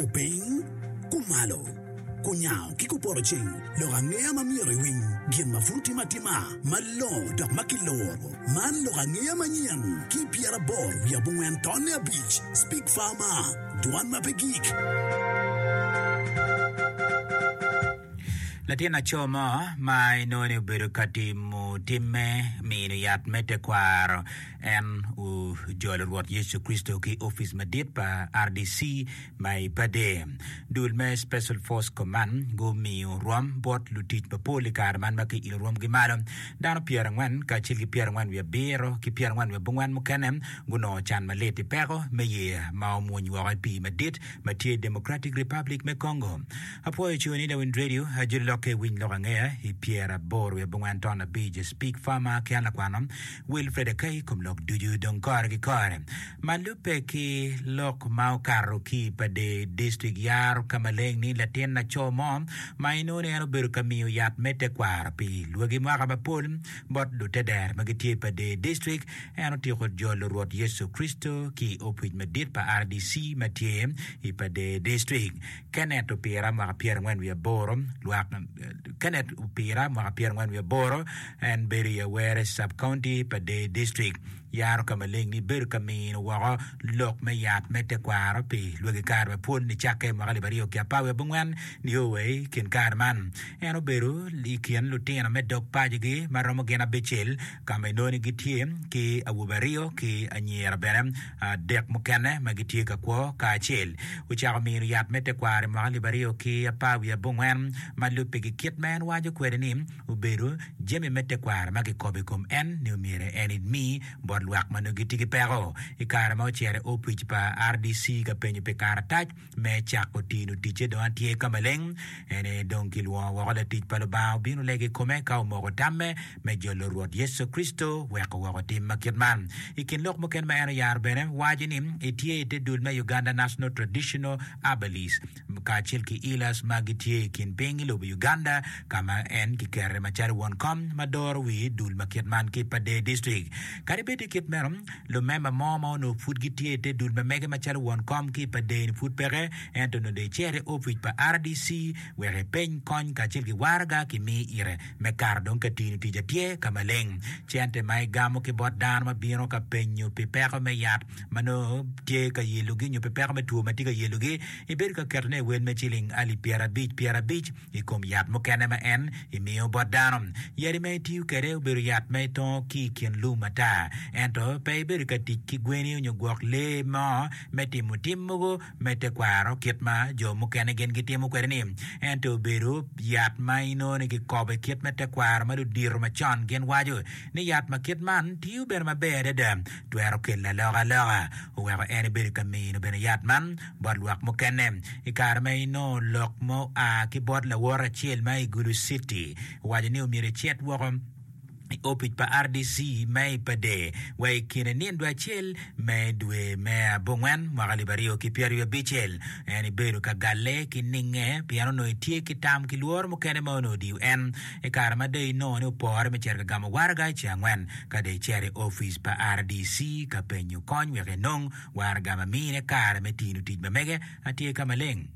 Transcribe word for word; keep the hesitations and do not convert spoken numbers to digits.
Kupiny, kumalo, kunyango ki kupoto ceng, lok angeya ma myero iwiny, gin ma pud timo atima, malongo dok ma kiloro. Man lok angeya manyen ki pyeraboro wiye abongwen tonne abic. Speak Farmer, dwan ma pe gik. Latin laco mo ma inongo ni obedo ka timo timme mino yat me tekwaro en ojolo Rwot Yecu Kricito ki opic madit pa RDC ma i Pader. Dul me Special Force Command gumiyo rwom bot lutic mapol i kare man ma kiilo rwomgi malo. Dano pyerangwen kacel ki pyerangwen wiye abiro ki pyerangwen wiye abongwen mukene gunongo can malit i peko me yeya ma omwony woko i pii madit ma tye i Democratic Republic me Congo. Apwoyo coni Lawiny Radio ajoli lokke winy lok angeya i pyeraboro wiye abongwen ton abic Speak Farmer ki an lakwano Wilfred Akai kom lok ducu dong kore ki kore. Ma lubbe ki lok ma okato ki i Pader District yaro ka maleng ni latin laco mo ma inongo ni en obedo ka miyo yat me tekwaro pi lwagi mwaka mapol bot lutedero ma gitye i Pader District en otyeko jolo Rwot Yecu Kricito ki i opic madit pa RDC ma tye i Pader District. Kenneth Opira mwaka pyerangwen wiye aboro lwak Kenneth Opira mwaka pyerangwen wiye aboro en bedo i Awere Sub-County Pader District yaro ka maleng ni bedo ka mino woko lok me yat me tekwaro pi lwagi kare mapol nicakke mwaka alip aryo ki apar wiye abongwen nio wa i kin kare man. En obedo i kin lutino me dog pacogi ma romo gin abicel ka ma inongo ni gitye ki awobe aryo ki anyira bene adek mukene ma gitye ka kwo kacel. Ocako mino yat me tekwaro i mwaka alip aryo ki apar wiye abongwen ma lubbe ki kit ma en waco kwede ni obedo jami me tekwaro ma kikobo i kom en ni omyero en emi bot lwak ma nongo gitye ki peko. I kare ma ocito i opic pa RDC ka penyo pi karatac me cako tino ticce dong atye ka maleng, en aye dong kilwongo woko latic pa Lubanga obino lego i kome ka omoko tamme me jolo Rwot Yecu Kricito weko woko tim ma kit man. I kin lok mukene ma en oyaro bene waco ni etye i te dul me Uganda National Traditional Herbalist kacel ki Healers ma gitye i kin piny i lobo Uganda ka ma en kikete macalo won kom ma doro wi dul ma kit man ki i Pader District. Kadi bed i kit meno, lumemba mo ma onongo pud gitye i te dul ma mege macalo won kom ki i Pader-ni pud peke, ento onongo dong icito i opic pa RDC wek ipeny kony kacel ki waraga kimi ite me kato dong ka tino tic atye ka maleng. Cente ma igamo ki bot dano ma bino ka penyo pi peko me yat ma nongo tye ka yelogi nyo pi peko me two ma tye ka yelogi, ibedo ka ketone i wel me ciling alip pyerabic pyerabic i kom yat mukene ma en imiyo bot dano. Yadi ma itiyo kwede obedo yat ma itongo ki i kin lum ata, ento pe ibedo ka tic ki gweni nyo gwok lee mo me timo tim mogo me tekwaro kit ma jo mukene gin gitimo kwede-ni. Ento obedo yat ma inongo ni kikobo i kit me tekwaro ma ludito macon gin waco ni yat ma kit man tiyo bene maber adada, twero kelo alokaloka. Oweko en ebedo ka mino bene yat man bot lwak mukene. I kare ma inongo lok ma oa ki bot lawote acel ma i Gulu City, owaco ni omyero ecit woko i opic pa RDC ma i Pader wa i kine nindo acel me dwe me abongwen mwaka alip aryo ki pyeraryo abicel. En ebedo ka galle ki ninge pien onongo etye ki tam ki lworo mukene ma onongo odiyo en i kare ma dong inongo ni opore me cito ka gamo waraga i ceng angwen ka dong ecito i opic pa RDC ka penyo kony wek enong waraga ma mine kare me tino tic ma mege atye ka maleng.